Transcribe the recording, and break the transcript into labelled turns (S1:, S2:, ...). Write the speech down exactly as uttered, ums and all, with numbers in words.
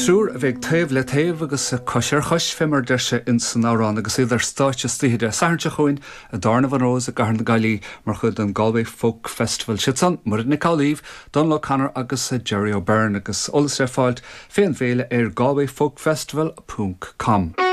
S1: Triúr a bheidh taobh le taobh agus cois ar chois fé mar deir sé in san amhrán agus iad ar stáitse istoíche Dé Sathairn seo chugainn i dTábhairne Rose i gCathair na Gaillimhe mar chuid den Galway Folk Festival. Siad san Muireann Nic Amhlaoibh, Donal O'Connor agus Jerry O'Byrne agus eolas le fáilt fén bhféile ar galwayfolkfestival.com.